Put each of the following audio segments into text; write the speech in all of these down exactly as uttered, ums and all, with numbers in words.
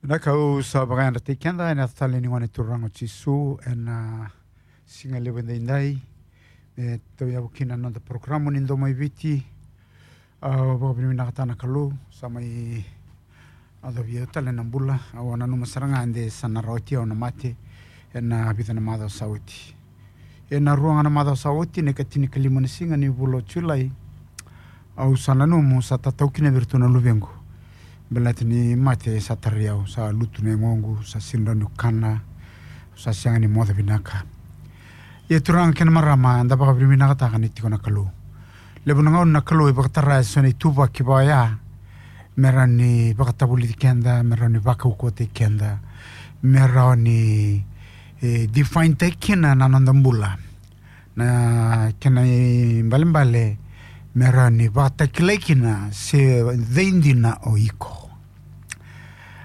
Na ka au sa vakayadrataki keda ena yaca talei ni Gone Turaga o Jisu ena siga levu edaidai. E tauyavu kina na noda porokaramu ni Domo i Viti. Au vakavinavinakataka na Kalou sa mai yacovi au tale na bula. Au a nanuma sara ga de sa na rawati au na mate ena vica na macawa sa oti. Ena rua ga na macawa sa oti, na ikatinikalima na siga ni vula o Julai, au sa nanuma sa tatau kina vei iratou na luvequ. Baleta ni mate sa tarai au, sa lutu na yagoqu, sa sega ni rawa niu kana, sa sega ni moce vinaka. Ia turaga kei na marama, da vakavinavinakataka ni tiko na Kalou. Levu na gauna na Kalou e vakatara eso na ituvaki vaya me rawa ni vakatavulici keda, me rawa ni vakaukauwataki keda, me rawa ni, e, define-taki kina na noda bula. Na kena ibalebale me rawa ni vakatakilai kina se cei dina o iko.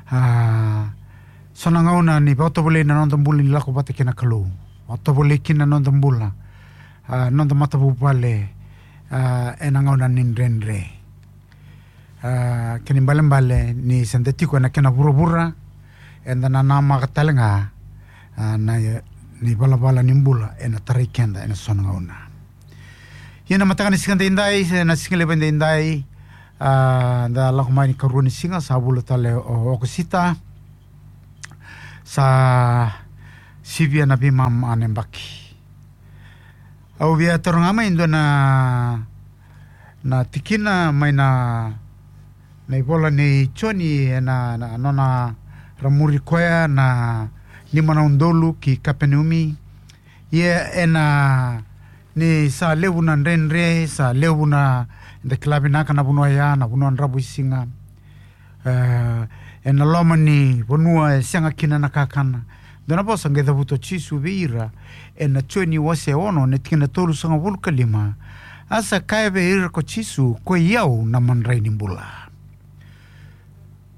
A, so na gauna ni vakatovolei na noda bula ni lako vata kei na Kalou. Vakatovolei kina na noda bula, a, noda matavuvale, a, ena gauna ni dredre. A, kena ibalebale ni se da tiko ena kena vuravura, eda na namaka tale ga, a, na, ni valavala ni bula ena tarai keda ena so na gauna. Ia na mataka ni siga daidai, se na siga levu daidai, a, da lako mai ni karua ni siga, sa vula tale o Okosita, sa sivia na veimama na yabaki. Au via taura ga mai e dua na, na tikina mai na, na ivola nei Joni ena, na, nona ra muri koya na lima na udolu ki Kapenaumi. Ia ena, ni sa levu na dredre, sa levu na, da kila vinaka na vanua ya, na vanua dravuisiga. E, ena loma ni vanua e sega kina na kakana. Dua na vosa qai cavuta o Jisu vei ira ena Joni wase ono na tikina tolusagavulu ka lima. A sa kaya vei ira ko Jisu, ko i au na madrai ni bula.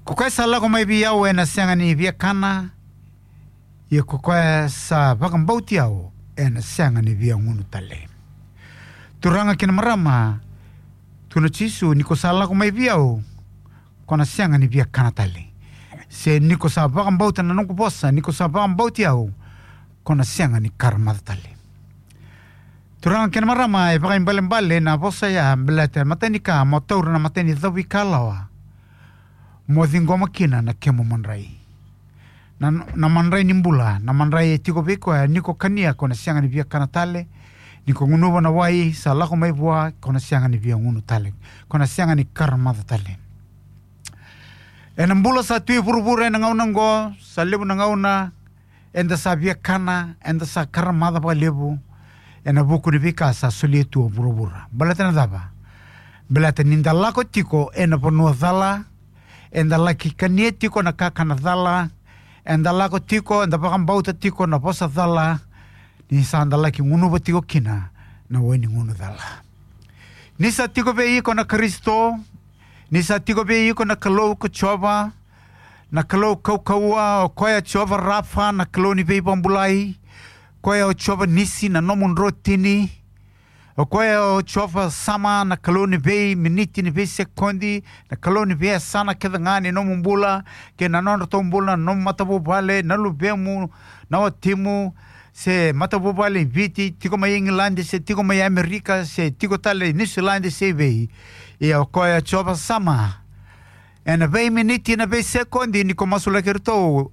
Ko koya sa lako mai vei au ena sega ni via kana, ia ko koya sa vakabauti au ena sega ni via gunu tale. Turaga kei na marama, tukuna o Jisu, ni ko sa lako mai vei au, ko na sega ni via kana tale. Se ni ko sa vakabauta na noqu vosa, ni ko sa vakabauti au, ko na sega ni karamaca tale. Turaga kei na marama, e vakaibalebale na vosa ya, baleta e matai ni ka mo taura na matai ni cavuikalawa, mo ciqoma kina na kemu madrai. Na, na madrai ni bula, na madrai e tiko vei koya, ni ko kania ko na sega ni via kana tale, ni ko gunuva na wai sa lako mai vua, ko na sega ni via gunu tale, ko na sega ni karamaca tale. Ena bula sa tu e vuravura ena gauna oqo, sa levu na gauna eda sa via kana, eda sa karamaca vakalevu ena vuku ni veika sa solia tu o vuravura. Baleta na cava? Baleta ni da lako tiko ena vanua cala, eda laki kania tiko na kakana cala, eda lako tiko, eda vakabauta tiko na vosa cala, ni sa da laki gunuva tiko kina na wai ni gunu cala. Ni sa tiko vei iko na Karisito, ni sa tiko vei iko na Kalou ko Jiova, na Kalou kaukauwa, o koya Jiova Rafa, na Kalou ni veivakabulai, koya o Jiova Nisi, na nomu drotini, o koya o Jiova Sama, na Kalou ni veiminiti, ni veisekodi, na Kalou ni veiyasana kece ga ni nomu bula, kei na nodratou bula, na nomu matavuvale, na luvemu, na watimu, se matavuvale i Viti, tiko mai Igiladi, se tiko mai Amerika, se tiko tale i Niusiladi, se i vei. Ia o koya Jiova Sama. Ena veiminiti, na veisekodi, ni ko masulaki iratou,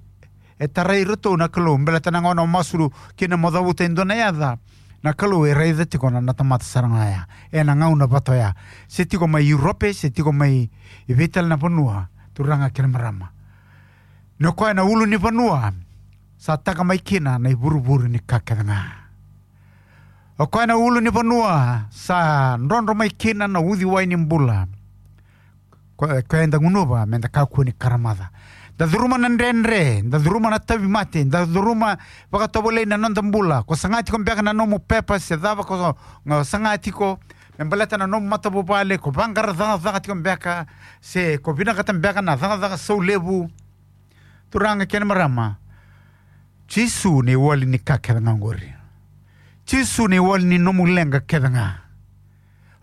e tarai iratou na Kalou, baleta na gauna o masu kina mo cavuta e dua na yaca, na Kalou e raica tiko na, na tamata sara ga ya. Ena gauna vata oya. Se tiko mai Europe, se tiko mai i vei tale na vanua, turaga kei na marama. Ni o koya na ulu ni vanua, sa taka mai kina na ivurevure ni ka kece ga. O koya na ulu ni vanua, sa drodro mai kina na uciwai ni bula. Ko, koya eda gunuva, meda kakua ni karamaca. Da curuma na dredre, da curuma na tauvimate, da curuma vakatovolei na noda bula. Ko saga tiko beka na nomu pepa, se cava ko, ko saga tiko, me baleta na nomu matavuvale, ko vaqara cakacaka tiko beka, se ko vinakata beka na cakacaka saulevu. Turaga kei na marama, Jisu na iwali ni ka kece ga oqori. Jisu na iwali ni nomu leqa kece ga.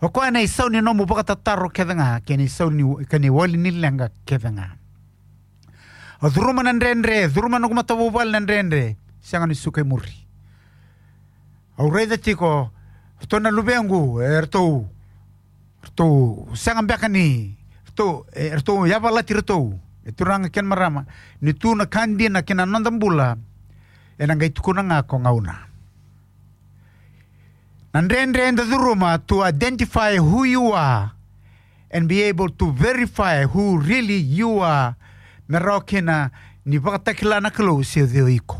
O koya na isau ni nomu vakatataro kece ga, kei na isau ni, kei na iwali ni leqa kece ga. Au curuma na dredre, curuma na noqu matavuvale na dredre. Sega ni suka i muri. Au raica tiko, ratou na luvequ, e ratou, ratou sega beka ni, ratou, e ratou yavalati ratou. E turaga kei na marama, ni tu na ka dina kei na noda bula, ena qai tukuna ga ko gauna. Na dredre eda curuma to identify who you are and be able to verify who really you are. Me rawa kina ni vakatakila na Kalou se o cei o iko.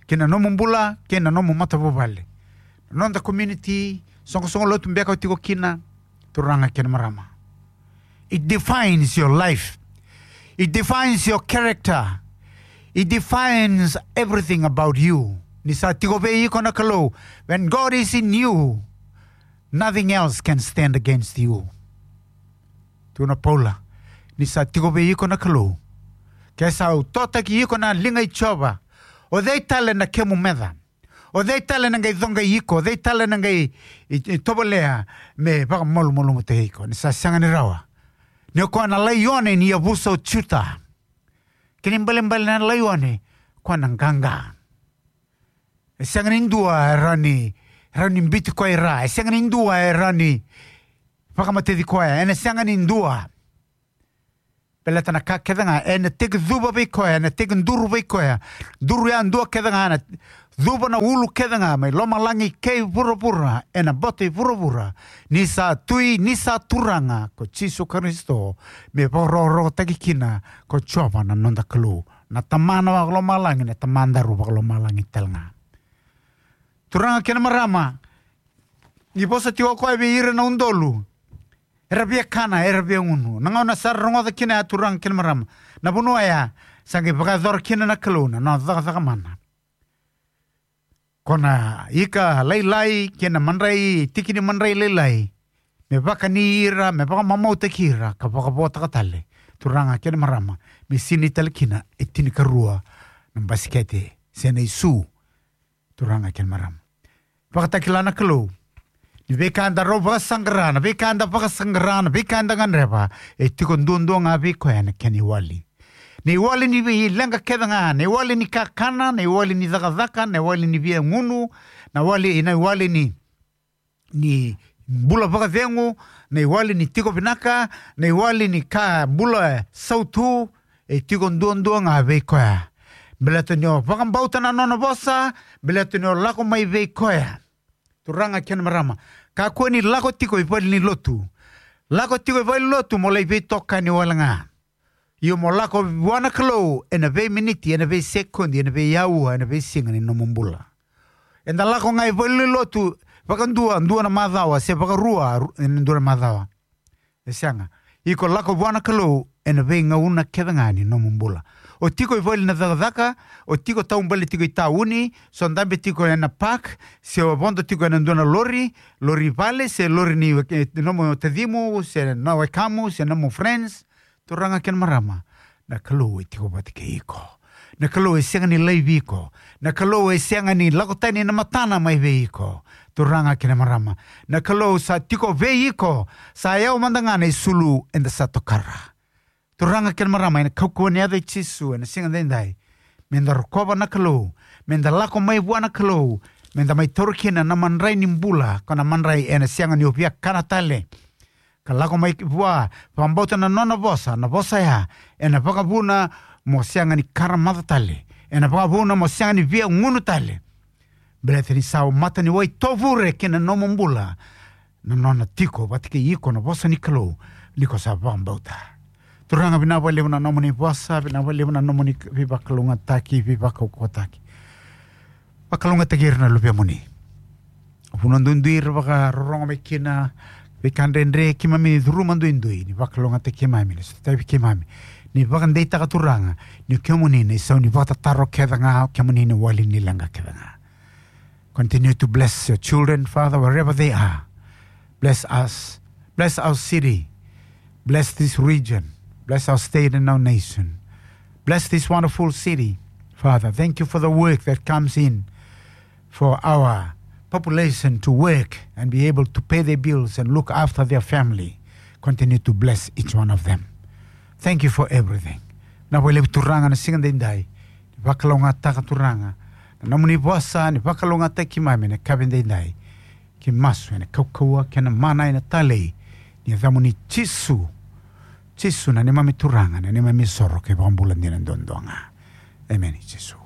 Kei na nomu bula, kei na nomu matavuvale. Noda community, soqosoqo lotu beka o tiko kina, turaga kei na marama. It defines your life. It defines your character. It defines everything about you. Ni sa tiko vei iko na Kalou. When God is in you, nothing else can stand against you. Tukuna Paula, ni sa tiko vei iko na Kalou. Ke sa utotaki iko na liga i Jiova. O cei tale na kemu meca. O cei tale na qai coqai iko, o cei tale na qai i, i tovolea me vakamalumalumutaki iko, ni sa sega ni rawa. Ni o koya na laione ni yavusa o Juta. Kena ibalebale na laione, koya na qaqa. E sega ni dua e rawa ni, rawa ni biuti koya i ra, e sega ni dua e rawa ni vakamateci koya, ena sega ni dua. Baleta na ka kece ga, ena tekicuva vei koya, ena tekiduru vei koya. Duru yadua kece ga, na cuva na ulu kece ga, mai lomalagi kei vuravura, ena boto i vuravura. Ni sa tui, ni sa turaga, ko Jisu Karisito, me vakarokorokotaki kina, ko Jiova na noda Kalou. Na Tamana vakalomalagi, na Tamadaru vakalomalagi tale ga. Turaga kei na marama, ni vosa tiko o koya vei ira na udolu. Era via kana, era via gunu. Na gauna sa ra rogoca kina ya turaga kei na marama. Na vanua ya, sa qai vakayacora kina na Kalou na nona cakacaka mana. Ko na ika lailai, kei na madrai, tiki ni madrai lailai. Me vakani ira, me vakamamautaki ira, ka vakavotaka tale. Turaga kei na marama, me sinai tale kina, e tinikarua, na basikete, se na isu. Turaga kei na marama. Vakatakila na Kalou. Ni veika eda rau vakasaqara, na veika eda vakasaqara, na veika eda gadreva. E tiko duadua ga vei koya na kena iwali. Na iwali ni veileqa kece ga, na iwali ni kakana, na iwali ni cakacaka, na iwali ni via gunu, na wali, na iwali ni, ni bula vakacegu, na iwali ni tiko vinaka, na iwali ni ka bula sautu, e tiko duadua ga vei koya. Baleta ni o vakabauta na nona vosa, baleta ni o lako mai vei koya. Turaga kei na marama. Kakua ni lako tiko i vale ni lotu. Lako tiko i vale ni lotu mo lai veitokani wale ga. Io mo lako vua na Kalou, ena veiminiti, ena veisekodi, ena veiaua, ena veisiga ni nomu bula. Eda lako ga i vale ni lotu, vakadua, dua na macawa, se vakarua, ru-, ena dua na macawa. E sega. Iko lako vua na Kalou, ena veigauna kece ga ni nomu bula. O tiko i vale na cakacaka, o tiko taubale tiko i tauni, so dabe tiko ena park, se o vodo tiko ena dua na lori, lori vale, se lori ni, e, nomu tacimu, se na wekamu, se nomu friends, turaga kei na marama, na Kalou e tiko vata kei iko. Na Kalou e sega ni laivi iko. Na Kalou e sega ni lako tani na matana mai vei iko. Turaga kei na marama. Na Kalou sa tiko vei iko. Sa yawa mada ga na isulu eda sa tokara. Turaga kei na marama, ena kaukauwa ni yaca i Jisu, ena siga daidai. Meda rokova na Kalou. Meda lako mai vua na Kalou. Meda mai taura kina na madrai ni bula. Ko na madrai ena sega ni o via kana tale. Ka lako mai vua, vakabauta na nona vosa, na vosa ya, ena vakavuna mo sega ni karamaca tale, ena vakavuna mo sega ni via gunu tale. Baleta ni sa mata ni wai tovure kei na nomu bula, na nona tiko vata kei iko na vosa ni Kalou, ni ko sa vakabauta. Turaga vinaka vakalevu na nomuni vosa, vinaka vakalevu na nomuni veivakalougatataki, veivakaukauwataki. Vakalougatataki ira na luvemuni. Vanua duidui era vakarorogo mai kina, veika dredre keimami curuma duidui, ni vakalougatataki keimami, ni sotavi keimami. Ni vakadeitaka Turaga, ni kemuni na isau ni vakatataro kece ga, kemuni na wali ni leqa kece ga. Continue to bless your children, Father, wherever they are. Bless us. Bless our city. Bless this region. Bless our state and our nation. Bless this wonderful city. Father, thank you for the work that comes in for our population to work and be able to pay their bills and look after their family. Continue to bless each one of them. Thank you for everything. Vinaka vakalevu Turaga na siga daidai. Ni vakalougatataka Turaga na nomuni vosa, ni vakalougatataki keimami ena yakavi daidai. Keimami masu ena kaukauwa kei na mana ena talei ni yacamuni Jisu. Jisu na neimami Turaga, na neimami isoro kei na iVakabula dina duadua ga. Emeni Jisu.